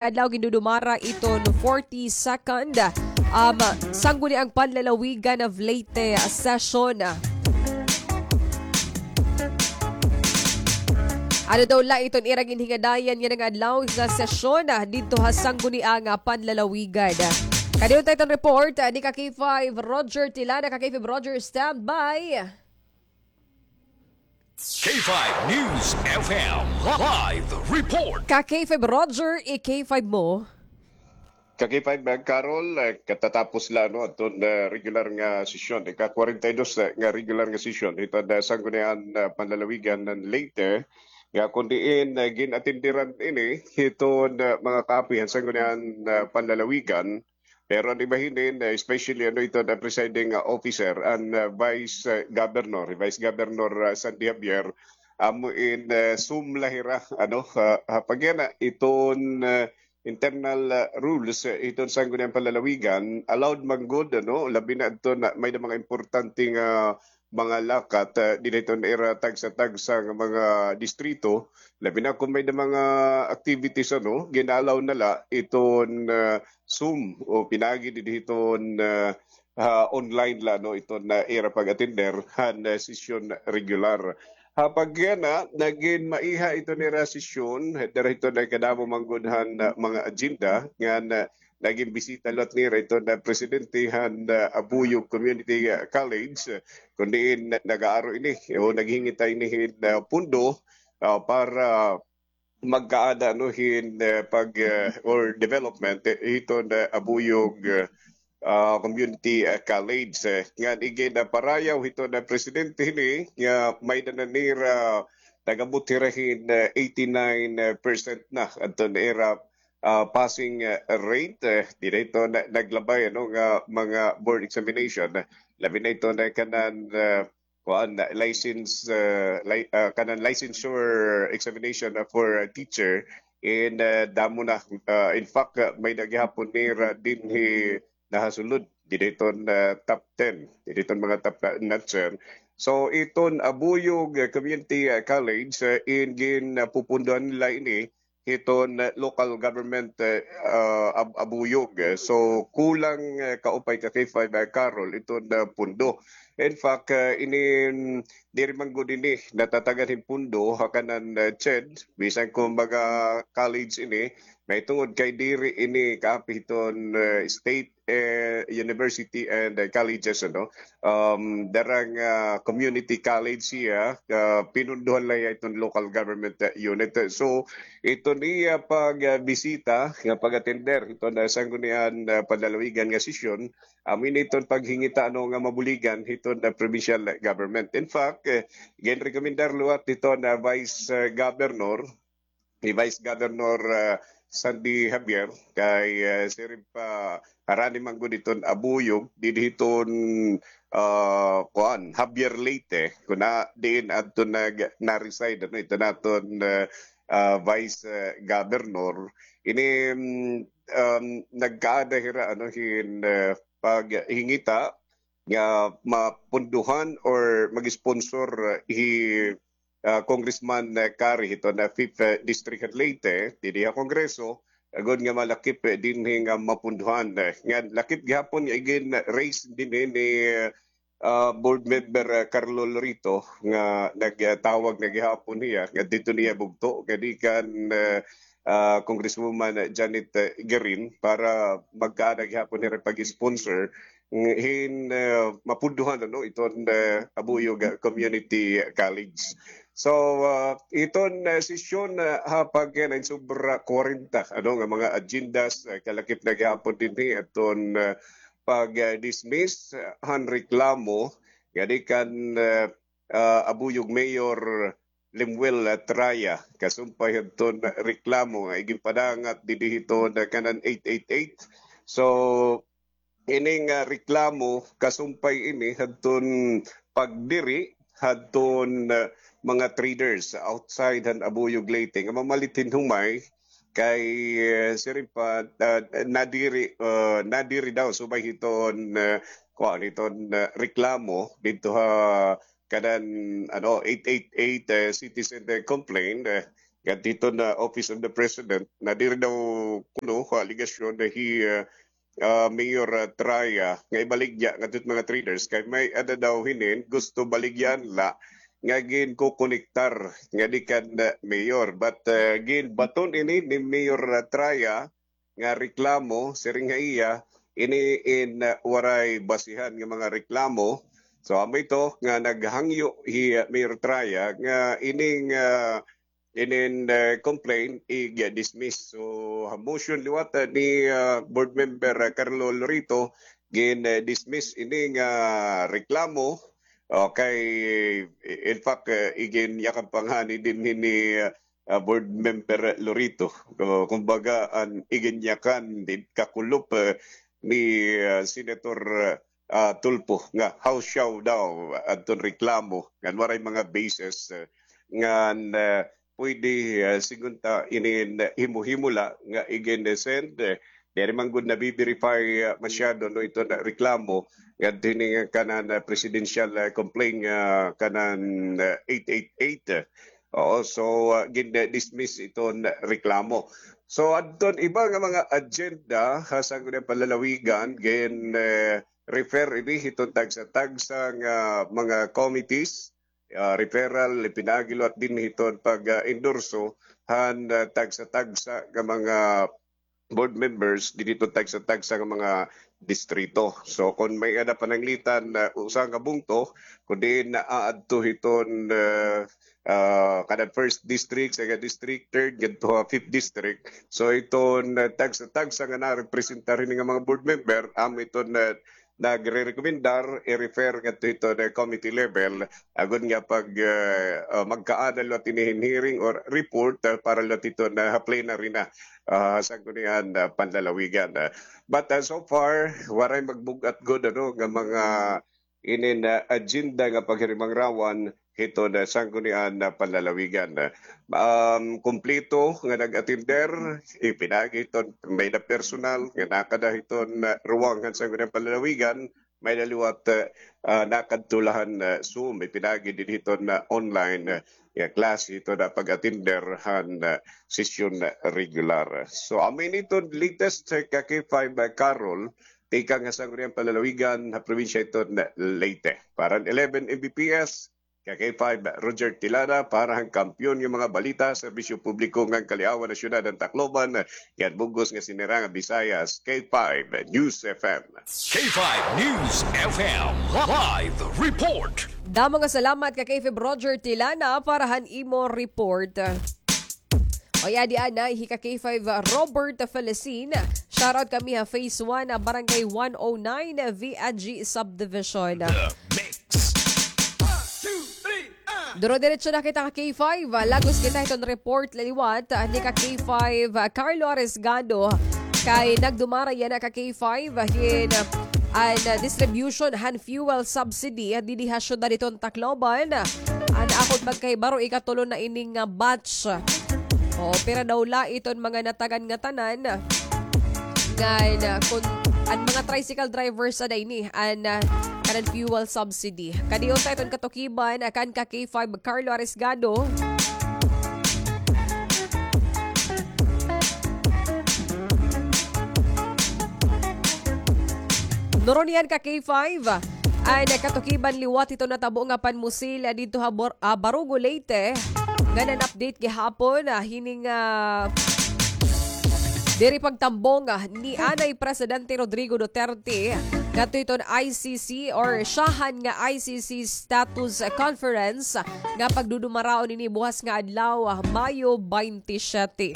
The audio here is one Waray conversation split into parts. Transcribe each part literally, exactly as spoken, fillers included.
adlaw gindudumara iton forty-second, um, Sangguniang Panlalawigan of Leyte session. Ano daw la iton ira ginhingadayan yana nga adlaw nga sesyon, ah, didto ha Sangguniang, ah, Panlalawigan. Kadi unta iton report, ah, ni ka K five Roger Tilana. Ka K five Roger, stand by. K five News F M live report. Ka K five Roger, i-K five mo. Ka K five, ah, Carol, ah, katatapos la, no, aton, ah, regular nga sesyon, ika-kwarenta y dos, ah, nga regular nga sesyon hiton, ah, Sangguniang, ah, Panlalawigan han Leyte, nga kon diin, ah, gin-atenderan ini hiton, ah, mga kaapihan Sangguniang, ah, Panlalawigan, pero an iba hinin, ah, especially, ano, iton, ah, presiding, ah, officer, an, ah, Vice, ah, Governor, Vice Governor, ah, Sandy Javier, amo in, ah, Zoom la hira, ano, ah, ha pagana iton, ah, internal, ah, rules, ah, iton Sangguniang Panlalawigan, allowed man gud, ano, labi na adto na may-ada mga importante nga mga lakat, ah, dida hiton ira tagsa-tagsa nga mga distrito, labi na kon may-ada mga activities, ano, gin-allow na la iton, ah, Zoom o pinaagi dida hiton, ah, ah, online la, no, iton, ah, ira pag-atender han, ah, sesyon regular. Ha pagana, nagin maiha iton ira sesyon, dara hiton kadamo man gud han, ah, mga agenda, ngan, ah, nagin bisita liwat nira iton, ah, presidente han, ah, Abuyog Community, ah, College, ah, kon diin na-, nag-aaro ini, o naghingita ini hin, ah, pundo, ah, para magkaada, no, hin, ah, pag, ah, or development, eh, hiton, ah, Abuyog, ah, Community, ah, College, eh, ngan igin, ah, parayaw hiton, ah, presidente hini nga may-ada na nira, nag-abot hira hin, ah, eighty-nine percent na adton ira, ah, passing, ah, rate, eh, dida hiton na-, naglabay, ano, nga mga board examination, labi na iton kanan, ah, kuan, license, ah, li-, ah, kanan licensure examination, ah, for a teacher. In, ah, damo na, ah, in fact, ah, may-ada gihapon nira dinhi nahasulod dida hiton, ah, top ten, dida hiton mga top notcher. So iton Abuyog, ah, Community, ah, College, ah, in gin, ah, pupundohan nila ini hiton, ah, local government, ah, ah, Ab-, Abuyog. So kulang, ah, kaupay ka K five, ah, Carol, iton, ah, pundo. In fact, ah, ini, mm, diri man gud ini natatagan hin pundo ha kanan, ah, CHED, bisan kon mga college ini, mahitungod kay diri ini kaapi hiton, ah, state, eh, university and, ah, colleges, ano. Um, dara nga community college hiya, ah, pinundohan la hiya iton local government, ah, unit. So iton iya pag, ah, bisita nga pag-atender hiton, ah, Sangguniang, ah, Panlalawigan nga sesyon, amo ini iton paghingita, ano, nga mabuligan hiton, ah, provincial government. In fact, eh, ginrekomendar liwat hiton, ah, Vice, ah, Governor, ni Vice Governor, ah, Sandy Javier, kay, ah, siring pa, harani man gud iton Abuyog, didi hiton, ah, kuan, Javier Leyte, kon diin adto nag-, na-reside, ano, iton aton, ah, ah, Vice, ah, Governor. Ini, mm, um, nagkaada hira, ano, hin, ah, paghingita nga mapundohan or mag-sponsor, ah, hi ah, Congressman, eh, Kari hiton, ah, Fifth, eh, District han Leyte, didi ha Kongreso, agod nga malakip, eh, dinhi nga mapundohan, eh, nga lakip gihapon nga igin-raise dinhi ni, ah, Board Member, ah, Carlo Lorito nga nagtawag na gihapon hiya nga didto niya bugto nga di kan, eh, ah, Congresswoman Janet, eh, Garin para magkaada gihapon hira pag-sponsor hin, eh, mapundohan, ano, iton, eh, Abuyog, ah, Community College. So, ah, iton, eh, sesyon, ah, ha pag, eh, nain sobra kwarenta, ano, nga mga agendas, eh, kalakip na gihapon dinhi aton, eh, pag-dismiss, eh, han reklamo nga di kan, eh, ah, Abuyog Mayor Lemuel, ah, Traya, kasumpay hadton reklamo nga iginpadangat didi hiton, ah, kanan eight eight eight. So, ini nga reklamo, kasumpay ini hadton pagdiri hadton, ah, mga traders outside han Abuyog, Leyte nga mamalit hin humay kay, ah, siring pa, ah, nadiri, ah, nadiri daw subay hiton, ah, kuan, hiton, ah, reklamo didto ha kanan, ano, eight eight eight, eh, citizen, eh, complaint, eh, ngadto hiton Office of the President, na diri daw kuno ha alegasyon na hi, ah, ah, Mayor, ah, Traya nga ibaligya ngadto hit mga traders kay may-ada daw hinin gusto baligyaan la nga ginkokonektar ngadi kan, ah, mayor. But, ah, ginbaton ini ni Mayor, ah, Traya nga reklamo, siring ha iya, ini in, ah, waray basihan nga mga reklamo. So, amo ito nga naghangyo hi, ah, Mayor Traya nga ining, ah, inin, ah, complaint i-dismiss. So, ha motion liwat, ah, ni, ah, Board Member, ah, Carlo Lorito, gin, ah, dismiss ini nga reklamo. Okay, in fact, ah, iginyakan pa ngani dinhi ni, ah, ah, Board Member Lorito. So, kumbaga, an iginyakan, di kakulop, ah, ni, ah, Senator, ah, Tulfo nga how shall daw adton reklamo ngan waray mga basis, ah, ngan, ah, pwede, ah, sigon ta inin himo-himo la nga igin-send, ah, diri man gud nabi-verify, ah, masyado, no, iton reklamo ngadto hini nga kanan, ah, presidential, ah, complaint nga kanan, ah, eight eight eight. Oo, so, ah, gin-dismiss iton reklamo. So, adton iba nga mga agenda ha Sangguniang Panlalawigan, gin, eh, refer ini hiton tagsa-tagsa nga mga committees, ah, referral, ipinaagi liwat dinhi hiton pag-endorso han, ah, tagsa-tagsa nga mga board members dinhi hiton tagsa-tagsa nga mga distrito. So, kon may-ada pananglitan na usa nga bungto, kon diin naaadto hiton, ah, ah, kada first district, second district, third, ngadto ha fifth district. So, iton, ah, tagsa-tagsa nga narepresentar hini nga mga board member, amo iton, ah, nagrerekomendar, i-refer ngadto hiton committee level, agod nga pag, ah, ah, magkaada liwat ini hin hearing or report, ah, para liwat hiton, ah, plenary na, ah, Sangguniang, ah, Panlalawigan. Ah, but, ah, so far, waray magbug-at gud, ano, nga mga inin, ah, agenda nga paghirimangrawan hiton, ah, Sangguniang, ah, Panlalawigan. Um, kumpleto nga nag-atender, ipinaagi hiton may-ada personal nga nakada hiton, ah, ruwang han Sangguniang Panlalawigan, may-ada liwat, ah, ah, nakadto la han, ah, Zoom, ipinaagi dinhi hiton, ah, online, ah, nga klase hiton, ah, pag-atender han, ah, sesyon, ah, regular. So, amo ini iton latest, ah, ka K five, ah, Carol, tikang ha Sangguniang Panlalawigan ha probinsya hiton Leyte. Para han eleven M B P S, ka K five, Roger Tilana, para han kampiyon nga mga balita, serbisyo publiko ngan kaliawan ha syudad han Tacloban, ngan bug-os nga sinirang ha Visayas, K five News F M. K five News F M live report. Damo nga salamat ka K five Roger Tilana para han imo report. O ya, di ana, hi ka K five, Robert Felicin. Shoutout kami ha Phase one, Barangay one oh nine, V N G Subdivision. The Mix. Duro-diretso na kita ka K five. Lagos kita hiton report liwat ni ka K five, Carlo Arisgado. Kay nagdumara yana ka K five hin an distribution han fuel subsidy didi ha syudad hiton Tacloban. An akon pagkahibaro, ikatulo na ini nga batch. O, pira daw la iton mga natagan nga tanan. Ngan, ah, kun an mga tricycle drivers ada ini an, ah, kanan fuel subsidy. Kadi unta iton katukiban, ah, kan ka K five Carlo Arisgado. Nurunian ka K five, an katukiban liwat hiton natabo nga panmusil, ah, didto ha Bor-, ah, Barugo, Leyte. Ngan an update gihapon, ah, hini nga, ah, diri pagtambong, ah, ni anay Presidente Rodrigo Duterte ngadto hiton I C C or syahan nga I C C status, ah, conference nga pagdudumaraon ini buhas nga adlaw, ah, Mayo twenty-seven.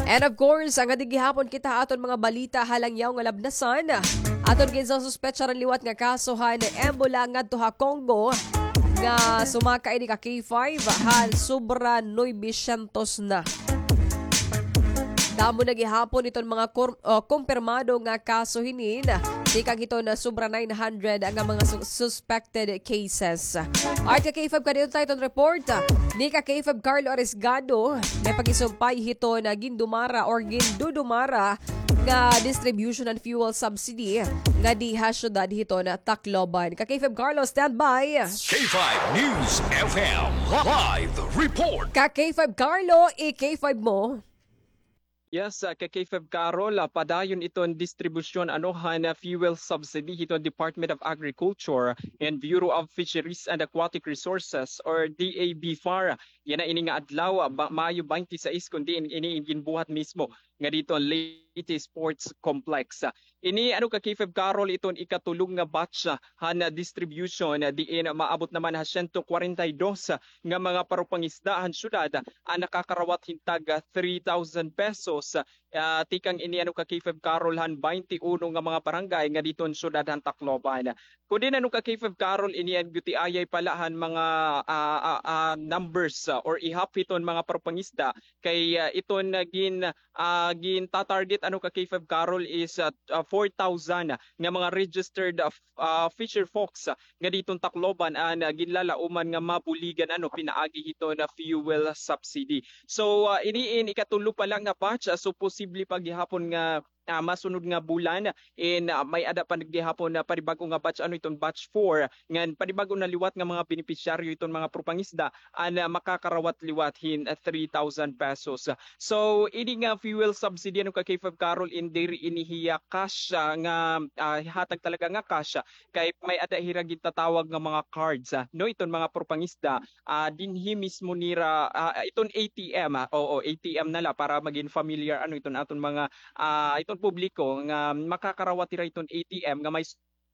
And of course, ngadi gihapon kita ha aton mga balita ha langyaw nga labnasan. Aton ginsususpetsaran liwat nga kaso han Ebola ngadto ha Congo nga sumaka ini ka K five han sobra nuebe syentos na. Damo na gihapon iton mga kor-, ah, kumpirmado nga kaso hinin. Tikang hiton sobra nine hundred nga mga su-, suspected cases. Alright, ka K five, kaditon ta iton report ni ka K five Carlo Arisgado, may pagisumpay hiton gindumara or gindudumara nga distribution han fuel subsidy nga diha syudad hiton Tacloban. Ka K five Carlo, standby. K five News F M live report. Ka K five Carlo, i-K five mo. Yes, ah, ka K five Carol, ah, padayon iton distribusyon, ano, han, ah, fuel subsidy hiton Department of Agriculture and Bureau of Fisheries and Aquatic Resources or D A B far. Yana ini nga adlaw, ah, ba-, Mayo twenty-six, kun diin ini ginbuhat mismo nga didto Leyte Sports Complex. Ini, ano, ka K five Carol, iton ikatulo nga batch, ah, han, ah, distribution, ah, diin maabot naman ha siyento kwarenta y dos, ah, nga mga parupangisda han syudad, ah, an nakakarawat hin tag, ah, three thousand pesos. Ah, tikang ini, ano, ka K five Carol, han baynte uno nga mga barangay nga didto han syudad han Tacloban. Kun diin, ano, ka K five Carol, ini an gutiayay pala han mga, ah, ah, ah, numbers, ah, or ihap hiton mga parupangisda kay, ah, iton, ah, gin-, ah, ginta-target, ano, ka K five Carol, is, ah, ah, four thousand nga mga registered, ah, f-, ah, fisher folks, ah, nga didto han Tacloban an, ah, ginlalauman nga mabuligan, ano, pinaagi hiton fuel subsidy. So, ah, ini in ikatulo pa la nga batch, ah, so posible pa gihapon nga, ah, masunod nga bulan, in, ah, may-ada pa gihapon na panibag-o nga batch, ano, iton batch four, ngan panibag-o na liwat nga mga benepisyaryo iton mga parupangisda an, ah, makakarawat liwat hin, ah, three thousand pesos. So, ini nga fuel subsidy, ano, ka K five Carol, in diri ini hiya cash, ah, nga, ah, hatag talaga nga cash, ah, kay may-ada hira gintatawag nga mga cards, ah, no, iton mga parupangisda, ah, dinhi mismo nira, ah, iton A T M, ah, oo, A T M na la para magin familiar, ano, iton aton mga, ah, iton publiko nga makakarawat hira iton A T M nga may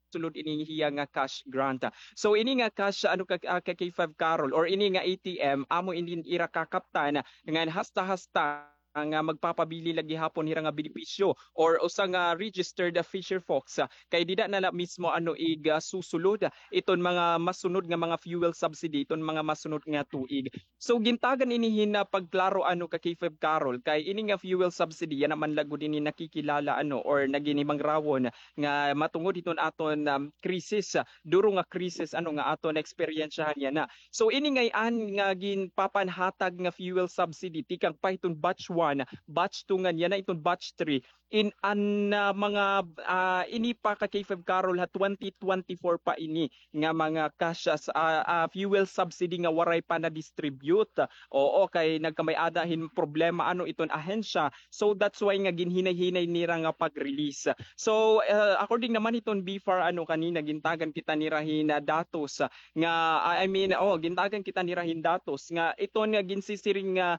sulod ini hiya nga cash grant. So, ini nga cash, ano, ka, ah, ka K five Carol, or ini nga A T M, amo ini ira kakaptan ngan hasta-hasta nga magpapabili la gihapon hira nga benepisyo or usa nga registered, ah, fisher folks, ah, kay dida na la mismo, ano, ig, ah, susulod, ah, iton mga masunod nga mga fuel subsidy, iton mga masunod nga tuig. So, gintagan ini hin, ah, pagklaro, ano, ka K five Carol, kay ini nga fuel subsidy, yana man la gud ini nakikilala, ano, or naginhimangrawon nga matungod hiton aton, um, krisis, ah, duro nga krisis, ano, nga aton naeksperyensyahan yana. So, ini ngay-an nga ginpapanhatag nga fuel subsidy tikang pa hiton batch one, batch two ngan yana iton batch three, in an, ah, mga, ah, ini pa ka K five Carol ha twenty twenty-four pa ini nga mga cash as, ah, ah, fuel subsidy nga waray pa na-distribute. Oo, kay nagkamay-ada hin problema, ano, iton ahensya. So, that's why nga ginhinay-hinay nira nga pag-release. So, ah, according naman hiton BFAR, ano, kanina gintagan kita nira hin, ah, datos, ah, nga, ah, I mean, oh, gintagan kita nira hin datos nga iton nga ginsisiring nga,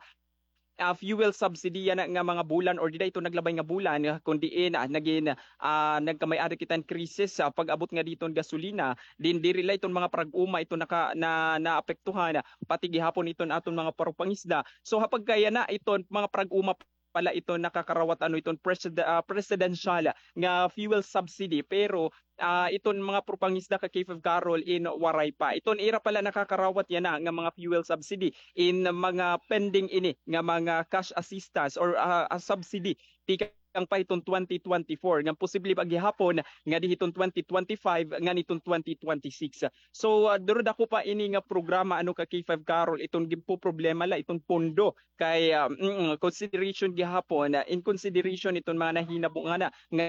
ah, fuel subsidy yana nga mga bulan or dida iton naglabay nga bulan, ah, kun diin, ah, nagin, ah, nagkamay-ada kita hin krisis, ah, pag-abot nga didto hin gasolina, din diri la iton mga parag-uma iton naka-, na, naapektuhan, ah, pati gihapon iton aton mga parupangisda. So, ha pagkayana iton mga parag-uma pala iton nakakarawat, ano, iton preside-, ah, presidential nga fuel subsidy, pero, ah, iton mga parupangisda ka K five Carol in waray pa. Iton ira pala nakakarawat yana nga mga fuel subsidy in mga pending ini nga mga cash assistance or, ah, ah, subsidy tikang pa hiton twenty twenty-four, nga posible pa gihapon nga di hiton twenty twenty-five ngan hiton twenty twenty-six. So, ah, duro dako pa ini nga programa, ano, ka K five Carol, iton ginpoproblema la iton pondo kay, ah, mm, consideration gihapon, ah, in consideration iton mga nahinabo ngana nga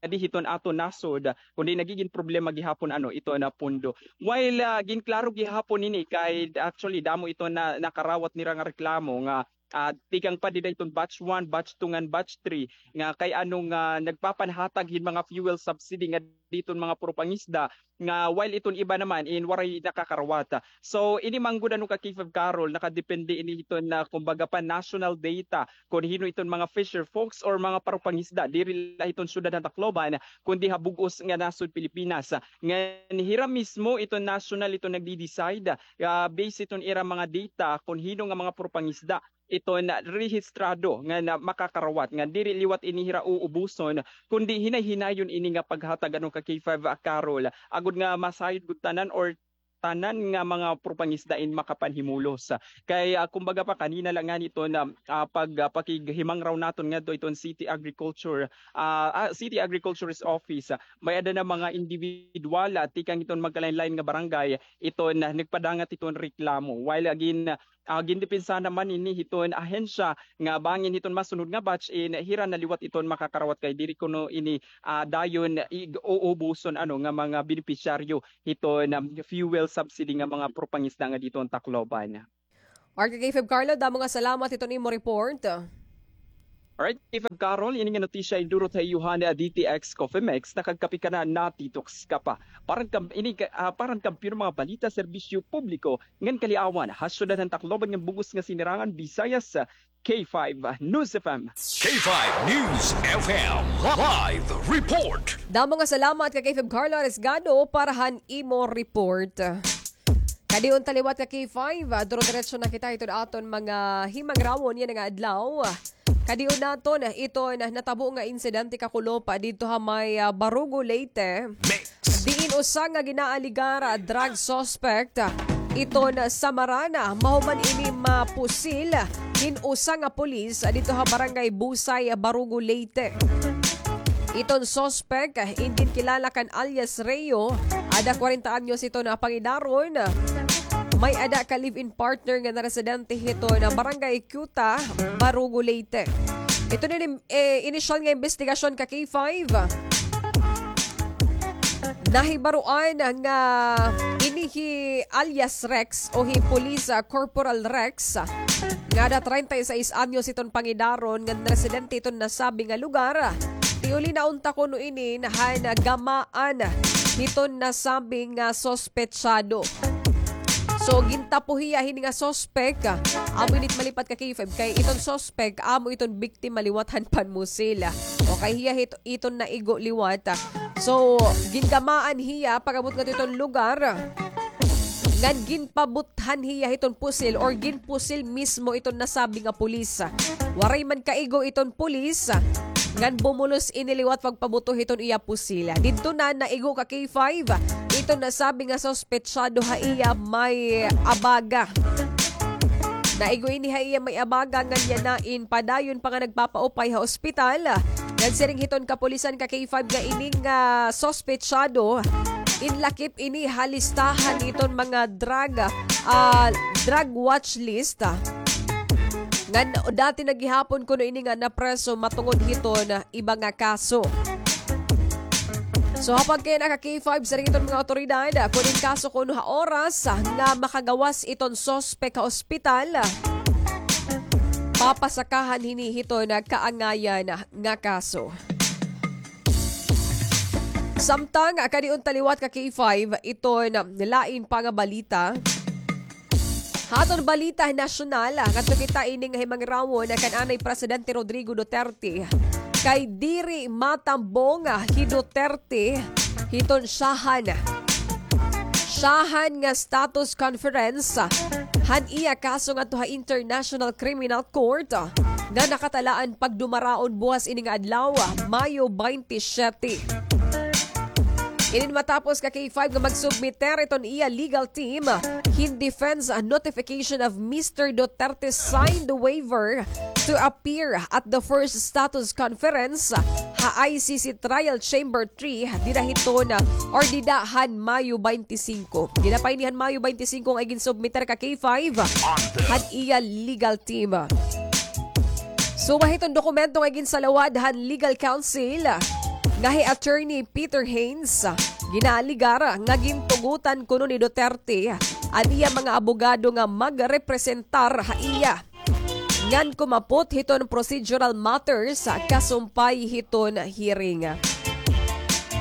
di hiton aton nasod, kundi nagigin problema gihapon, ano, iton pondo. While, ah, ginklaro gihapon ini kay actually damo iton na, nakarawat nira nga reklamo nga, ah, tikang pa dida iton batch one, batch two ngan batch three nga kay ano nga nagpapanhatag hin mga fuel subsidy nga diton mga parupangisda nga while iton iba naman in waray nakakarawat. So, ini man gud, ano, ka K five Carol, nakadepende ini hiton na, kumbaga pa, national data kun hin-o iton mga fisher folks or mga parupangisda diri la hiton syudad han Tacloban kundi ha bug-os nga nasod Pilipinas. Ngan hira mismo iton national iton nagdi-decide, ah, based iton ira mga data kun hin-o nga mga parupangisda iton rehistrado nga na makakarawat, nga diri liwat ini hira uubuson, kundi hinay-hinayon ini nga paghatag, ano, ka K five, ah, Carol, agod nga masayod gud tanan or tanan nga mga propangisda in makapanhimulos. Kay, ah, kumbaga pa, kanina la ngani iton, ah, ah, pag, ah, pakighimangraw naton ngadto iton City Agriculture, ah, ah, City Agriculture's Office, ah, may-ada na mga individual, ah, tikang iton magkalain-lain nga barangay iton, ah, nagpadangat iton reklamo. While, ah, gin-, ah, gindepensa naman ini hiton ahensya nga bangin hiton masunod nga batch in hira na liwat iton makakarawat kay diri kuno ini, ah, dayon ig-uubuson, ano, nga mga benepisyaryo hiton, um, fuel subsidy nga mga propangisda nga didto han Tacloban. Alright, K five Carlo, damo nga salamat hiton imo report. Alright, K five Carol, ini nga notisya idurot ha iyo han D T X Coffee Mix, nakagkape ka na, natitoks ka pa. Para han kam-, ini ka, ah, para han kampiyon nga mga balita, serbisyo publiko, ngan kaliawan, ha syudad han Tacloban ngan bug-os nga sinirangan, Visayas, K five News F M. K five News F M live report. Damo nga salamat kay K five Carlo Arisgado para han imo report. Kadion ta liwat ka K five, ah, duro-diretso na kita hiton aton mga himangrawon yana nga adlaw. Kadion naton iton natabo nga insidente kakulop didto ha may, ah, Barugo, Leyte. Diin usa nga ginaaligar, ah, drug suspect, ah, iton Samarana, mahuman ini mapusil hin usa nga pulis, ah, didto ha Barangay Busay, ah, Barugo, Leyte. Iton suspect, ah, in ginkilala kan alias Reo, ada kwarenta anyos iton pangidaron, may-ada ka live-in partner nga naresidente hiton Barangay Cuta, Barugo, Leyte. Iton ini, eh, inisyal nga imbestigasyon ka K five. Nahibaroan nga ini hi alias Rex o hi Police, ah, Corporal Rex, ah, nga ada treinta y seis anyos iton pangidaron nga residente iton nasabi nga lugar. Tiuli na unta kuno ini han gamaan hiton nasabi nga suspetsado. So, gintapo hiya hini nga suspect, ah, amo ini it malipat ka K five kay iton suspect, amo iton biktima liwat han panmusil. O kay hiya hit-, iton naigo liwat. So, gingamaan hiya pag-abot ngadto iton lugar. Ngan ginpabuthan hiya hiton pusil or ginpusil mismo iton nasabi nga pulis. Waray man kaigo iton pulis. Ngan bumulos ini liwat pagpabuto hiton iya pusil. Didto na naigo ka K five iton nasabi nga suspetsado ha iya may abaga. Naigo ini ha iya may abaga ngan yana in padayon pa nga nagpapaupay ha ospital. Nagsiring hiton kapulisan ka K five nga ini nga suspetsado in lakip ini ha listahan hiton mga drug, ah, drug watch list, ah. Ngan dati na gihapon kuno ini nga napreso matungod hiton iba nga kaso. So, ha pagkayana ka K five, siring hiton mga awtoridad, ah, kon in kaso kuno ha oras, ah, nga makagawas iton suspek ha ospital, ah, papasakahan hini hiton kaangayan nga kaso. Samtang, ah, kadion ta liwat ka K five, iton, ah, lain pa nga balita. Ha aton balita nasyonal, ah, ngadto kita ini nga himangrawon kan anay Presidente Rodrigo Duterte. Kay diri matambong, ah, hi Duterte hiton syahan. Syahan nga status conference, ah, han iya kaso ngadto ha International Criminal Court, ah, nga nakatalaan pagdumaraon buwas ini nga adlaw, ah, Mayo twenty-seven. Inin matapos ka K five nga magsubmiter iton iya legal team hin defense notification of Mister Duterte signed waiver to appear at the first status conference ha I C C Trial Chamber three dida hiton or dida han Mayo twenty-five. Dida pa ini han Mayo twenty-five nga ginsubmiter ka K five han iya legal team. Suma hiton dokumento nga ginsalawad han legal counsel nga hi Attorney Peter Haynes, ginaaligar nga gintugotan kuno ni Duterte an iya mga abogado nga magrepresentar ha iya ngan kumapot hiton procedural matters kasumpay hiton hearing.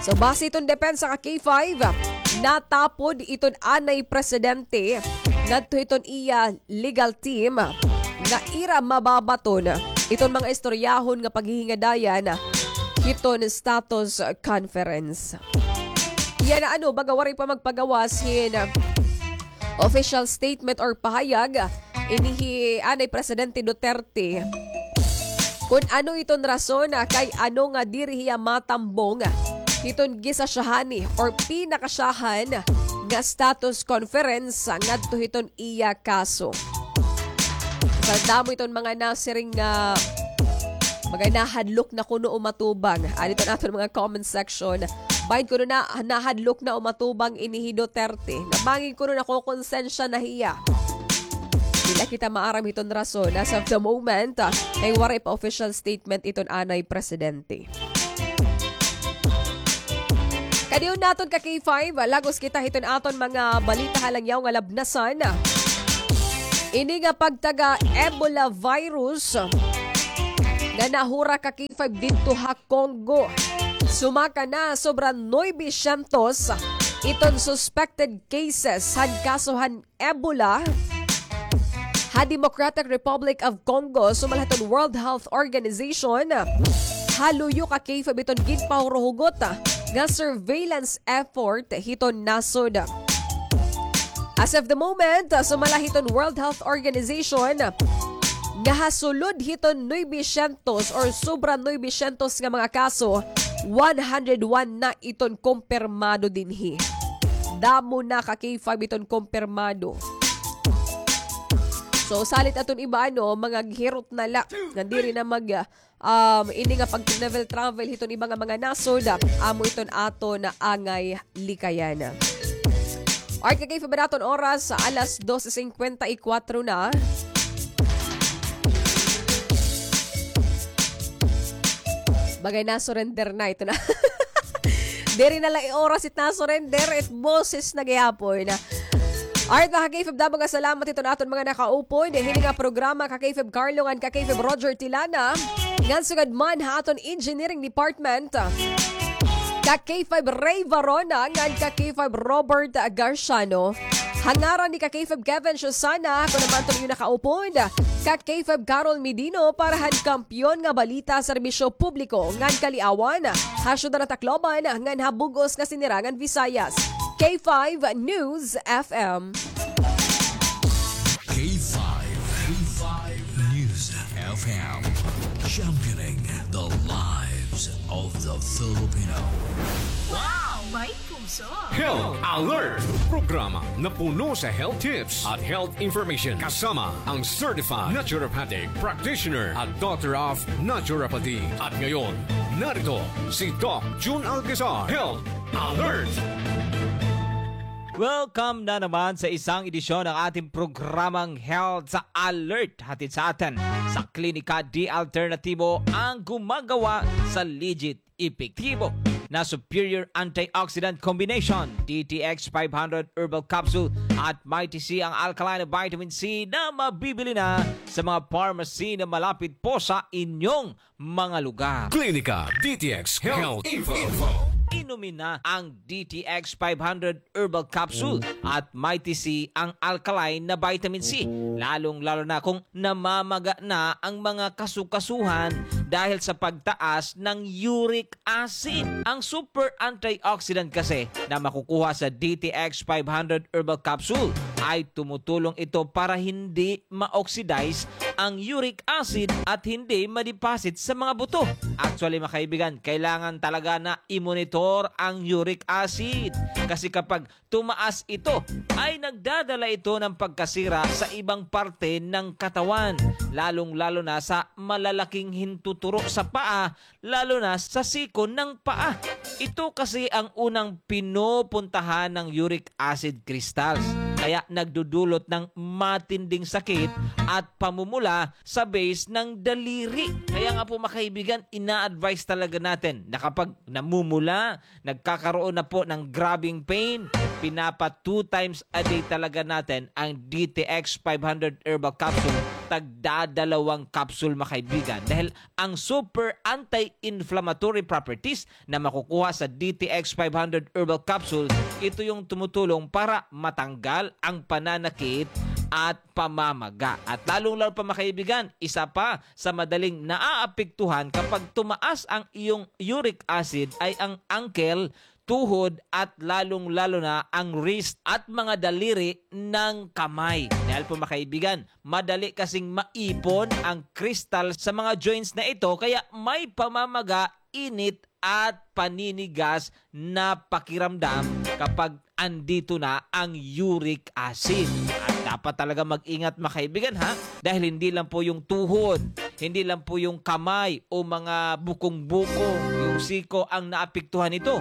So, base hiton depensa ka K five, natapod iton anay presidente ngadto hiton iya legal team nga ira mababaton iton mga istoryahon nga paghihingadayan hiton status conference. Yana, ano, baga waray pa magpagawas hin official statement or pahayag ini hi anay Presidente Duterte kon ano iton rason, ah, kay ano nga diri hiya matambong hiton gisasyahani or pinakasyahan nga status conference ngadto hiton iya kaso. Sa damo iton mga nasiring nga mga nahadlok na kuno o matubang. Adi iton aton mga comment section. Bahin kuno na nahadlok na o matubang ini hi Duterte. Nga bangin kuno nakokonsensya na hiya. Diri kita maaram hiton rason as of the moment, ah, kay waray pa official statement iton anay presidente. Kadiyot naton ka K five, lagos kita hiton aton mga balita ha langyaw nga labnasan. Ini nga pagtaga Ebola virus nga nahura ka K five didto ha Congo. Sumaka na sobra nuebe syentos iton suspected cases han kaso han Ebola ha Democratic Republic of Congo, sumala hiton World Health Organization. Ha luyo ka K five iton ginpahuruhugot nga surveillance effort hiton nasod. As of the moment, sumala hiton World Health Organization, nga ha sulod hiton nuebe syentos or sobra nuebe syentos nga mga kaso, one hundred one na iton kumpirmado dinhi. Damo na ka K five iton kumpirmado. So, salit aton iba, ano, mga gihirot na la. Nga diri na mag, um, ini nga pag-travel-travel hiton iba nga mga nasod, amo iton aton angay likayan. Alright, ka K five, aton oras, alas dose singkwenta y kwatro na. Bagay na, surrender na ito na. Diri na la it oras it na-surrender, it boses na gihapon. Alright, mga ka-K five, damo nga salamat hiton aton mga nakaupod hini nga programa, ka K five Carlo ngan ka K five Roger Tilana. Ngan sugad man ha aton engineering department, ka K five Ray Varona ngan ka K five Robert Garciano. Ha ngaran ni ka K five Kevin Susana, ako naman iton iyo nakaupod, ka K five Carol Medino para han Kampiyon nga Balita, Serbisyo Publiko ngan Kaliawan, ha syudad han Tacloban ngan ha bug-os nga Sinirangan Visayas. K five News F M. K five, K five News F M, championing the lives of the Filipino. Wow! May puso! Health Alert! Programa na puno sa health tips at health information, kasama ang certified naturopathic practitioner at doctor of naturopathy. At ngayon, narito si Doc Jun Alcazar. Health Alert! Welcome na naman sa isang edisyon ng ating programang Health Alert. Hatid sa atin sa Klinika D Alternatibo, ang gumagawa sa legit, epektibo na superior antioxidant combination, D T X five hundred Herbal Capsule at Mighty C, ang alkaline na vitamin C, na mabibili na sa mga pharmacy na malapit po sa inyong mga lugar. Klinika D T X Health Info. Inumin na ang D T X five hundred Herbal Capsule at Mighty C, ang alkaline na vitamin C, lalong-lalo na kung namamaga na ang mga kasukasuhan dahil sa pagtaas ng uric acid. Ang super antioxidant kasi na makukuha sa D T X five hundred Herbal Capsule ay tumutulong ito para hindi ma-oxidize ang uric acid at hindi ma-deposit sa mga buto. Actually, mga kaibigan, kailangan talaga na i-monitor ang uric acid. Kasi kapag tumaas ito, ay nagdadala ito ng pagkasira sa ibang parte ng katawan, lalong-lalo na sa malalaking hintuturo sa paa, lalo na sa siko ng paa. Ito kasi ang unang pinupuntahan ng uric acid crystals. Kaya nagdudulot ng matinding sakit at pamumula sa base ng daliri. Kaya nga po, mga kaibigan, ina-advise talaga natin na kapag namumula, nagkakaroon na po ng grabing pain, pinapa two times a day talaga natin ang D T X five hundred Herbal Capsule. Tagdadalawang capsule, mga kaibigan, dahil ang super anti-inflammatory properties na makukuha sa D T X five hundred Herbal Capsule, ito yung tumutulong para matanggal ang pananakit at pamamaga. At lalong-lalo pa, mga kaibigan, isa pa sa madaling naaapektuhan kapag tumaas ang iyong uric acid ay ang ankle, tuhod, at lalong-lalo na ang wrist at mga daliri ng kamay. Dahil po, mga kaibigan, madali kasing maipon ang crystal sa mga joints na ito, kaya may pamamaga, init, at paninigas na pakiramdam kapag andito na ang uric acid. At dapat talaga mag-ingat, mga kaibigan, ha? Dahil hindi lang po yung tuhod, hindi lang po yung kamay o mga bukong-bukong, yung siko ang naapektuhan nito.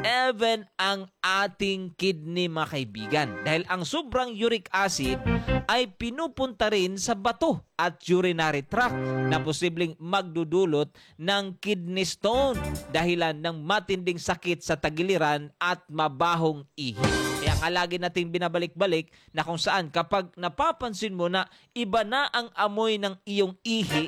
Even ang ating kidney, mga kaibigan. Dahil ang sobrang uric acid ay pinupunta rin sa bato at urinary tract na posibleng magdudulot ng kidney stone, dahilan ng matinding sakit sa tagiliran at mabahong ihi. Kaya nga lagi nating binabalik-balik na kung saan kapag napapansin mo na iba na ang amoy ng iyong ihi,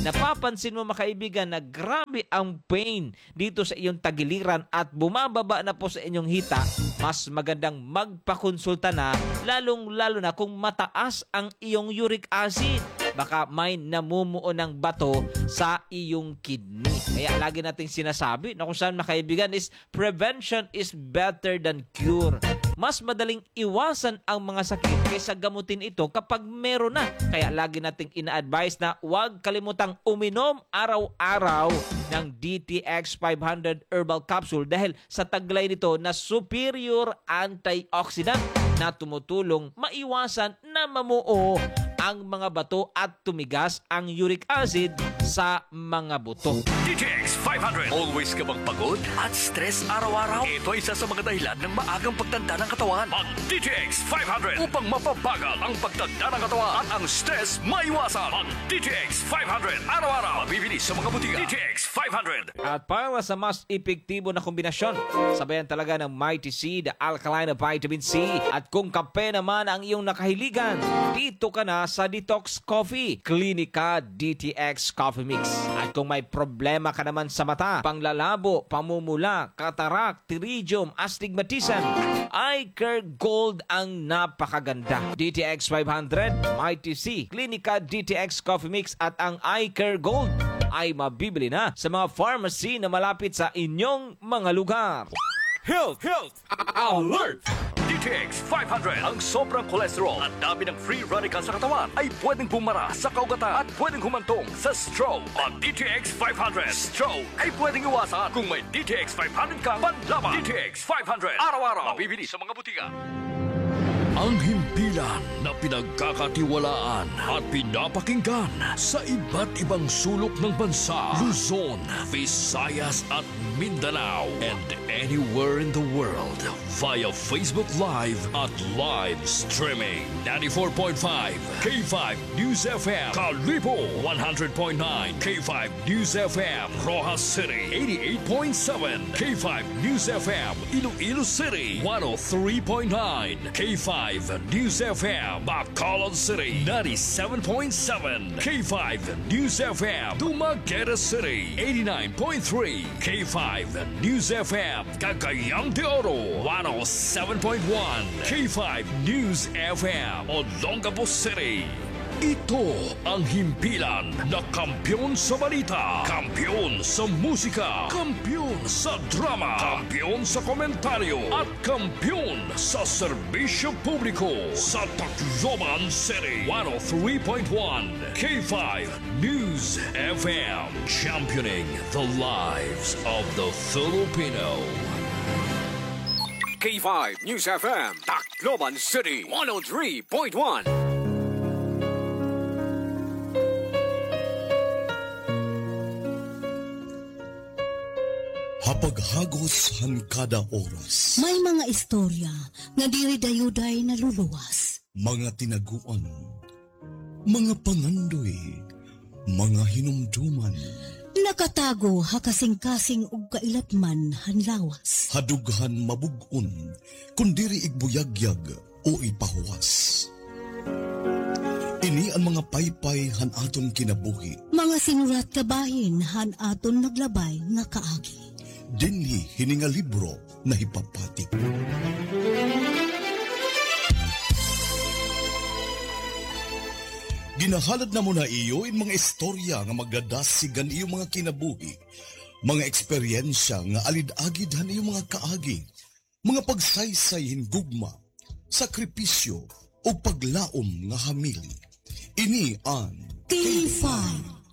napapansin mo, mga kaibigan, na grabe ang pain dito sa iyong tagiliran at bumababa na po sa inyong hita, mas magandang magpakonsulta na, lalong-lalo na kung mataas ang iyong uric acid. Baka may namumuo ng bato sa iyong kidney. Kaya lagi nating sinasabi na kung saan, mga kaibigan, is prevention is better than cure. Mas madaling iwasan ang mga sakit kaysa gamutin ito kapag meron na. Kaya lagi nating ina-advise na huwag kalimutang uminom araw-araw ng D T X five hundred Herbal Capsule dahil sa taglay nito na superior antioxidant na tumutulong maiwasan na mamuo ang mga bato at tumigas ang uric acid sa mga buto. D T X five hundred. Always ka bang pagod at stress araw-araw? Ito ay isa sa mga dahilan ng maagang pagtanda ng katawan. Mag D T X five hundred upang mapabagal ang pagtanda ng katawan at ang stress maiwasan. Mag D T X five hundred araw-araw. Mabibili sa mga butika. D T X five hundred. At para sa mas epektibo na kombinasyon, sabayan talaga ng Mighty C, the alkaline vitamin C. At kung kape naman ang iyong nakahiligan, dito ka na sa Detox Coffee, Clinica D T X Coffee Mix. At kung may problema ka naman sa mata, panglalabo, pamumula, katarak, pterygium, astigmatism, Eye Care Gold ang napakaganda. D T X five hundred, Mighty C, Clinica D T X Coffee Mix at ang Eye Care Gold ay mabibili na sa mga pharmacy na malapit sa inyong mga lugar. Health, health, alert! D T X five hundred, ang sobrang cholesterol at dami ng free radical sa katawan ay pwedeng bumara sa kaugatan at pwedeng humantong sa stroke. Ang D T X five hundred, stroke ay pwedeng iwasan kung may D T X five hundred kang panlaban. D T X five hundred, araw-araw, mabibili sa mga butika. Ang himpilan na pinagkakatiwalaan at pinapakinggan sa iba't ibang sulok ng bansa, Luzon, Visayas at Mindanao, and anywhere in the world via Facebook Live at live streaming. Ninety-four point five K five News F M, Kalibo, one hundred point nine K five News F M, Roxas City, eighty-eight point seven K five News F M, Iloilo City, one oh three point nine K five News F M, Bacolod City, ninety-seven point seven K five News F M, Dumaguete City, eighty-nine point three K five News F M, Cagayan de Oro, one oh seven point one K five News F M, Olongapo City. Ito ang himpilan na kampiyon sa balita, kampiyon sa musika, kampiyon sa drama, kampiyon sa komentaryo, at kampiyon sa serbisyo publiko sa Tacloban City. One oh three point one K five News F M, championing the lives of the Filipino. K five News F M, Tacloban City, one oh three point one. Ha paghagos han kada oras. May mga istorya nga diri dayuday naluluwas. Mga tinaguan, mga pangandoy, mga hinumduman. Nakatago ha kasingkasing ug kailatman han lawas. Ha dughan mabug-on, kon diri igbuyagyag o ipahuwas. Ini an mga paypay han aton kinabuhi. Mga sinurat kabahin han aton naglabay nga kaagi. Dinhi hini nga libro nahipapati. Ginahalad namon ha iyo in mga istorya nga magdadasig han iyo mga kinabuhi, mga eksperyensya nga alid-agid han iyo mga kaagi, mga pagsaysay hin gugma, sakripisyo, ug paglaom nga hamili. Ini an K five